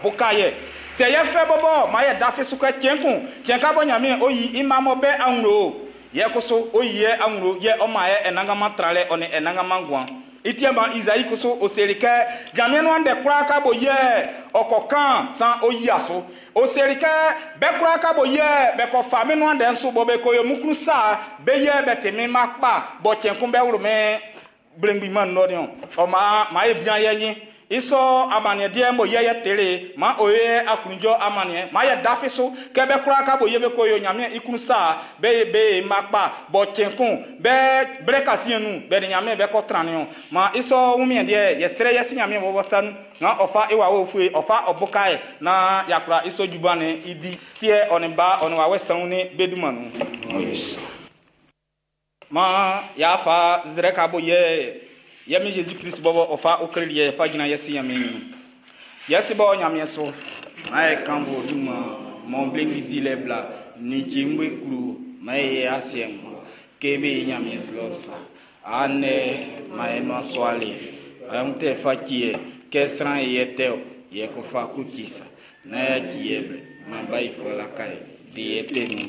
Ɔbuka yɛ. Sɛ yɛ fɛ bɔbɔ, ma yɛ dafi so kɛ cɛn kun, cɛn ka bɔ Ɲanmiɛn o yi i mma mɔ be awlo. Yɛ kusu o yi yɛ awlo yɛ ɔ man yɛ ɛnanganman tranlɛ ɔ nin ɛnanganman nguan. I ti ma Izayi kusu o seli kɛ Ɲanmiɛn nuan ndɛ kwlaa ka bo yɛ ɔ kɔ kan san o yia su. O seli kɛ bɛ kwlaa ka bo yɛ bɛ kɔ fa min nuan ndɛ'n su bɔ be ko yo min klun sa be yɛ bɛ ti min mma kpa bɔ cɛn kun bɛ wlu min blengbi man nɔ niɔn. Ɔ maan maa e bian yɛ nyin. I sɔ amanniɛ deɛ mo yɛ yɛ tele ma o ye aklunjɔ amanniɛ ma yɛ dafi so kɛ bɛ kwlaa ka bo yɛ be ko yo Ɲanmiɛn i klun sa be be mma kpa bɔ cɛn kun bɛ blɛ kasiɛn nun bɛ ni Ɲanmiɛn bɛ kɔ tran niɔn. Ma i sɔ wunmiɛn deɛ yɛ srɛ yɛ si Ɲanmiɛn bɔbɔ sa nun na ɔ fa i wawɛ ufue ɔ fa ɔ buka yɛ na yakura i sɔ juban ni i di siɛ ɔ nin ba ɔ nin wawɛ sanwun ni be dunman nun. Ma y'a fa zrɛ ka bo yɛ yɛ mi Jésus Christ bɔbɔ ɔ fa okreli yɛ fa gyina yɛ si Ɲanmiɛn ɲrun. Yɛ si bɔ Ɲanmiɛn so ma yɛ kan bo dunman mɔ blengi dilɛ bla ni jimbe klu ma yɛ asiɛ ŋma ke be Ɲanmiɛn silɔ sa. Anɛ ma yɛ nua suale ayɔn tɛ fa ci yɛ kɛ sran yɛ tɛ o yɛ ko fa ku ci sa na yɛ ci yɛ blɛ ma ba yi fɔ la ka yɛ de yɛ te nu.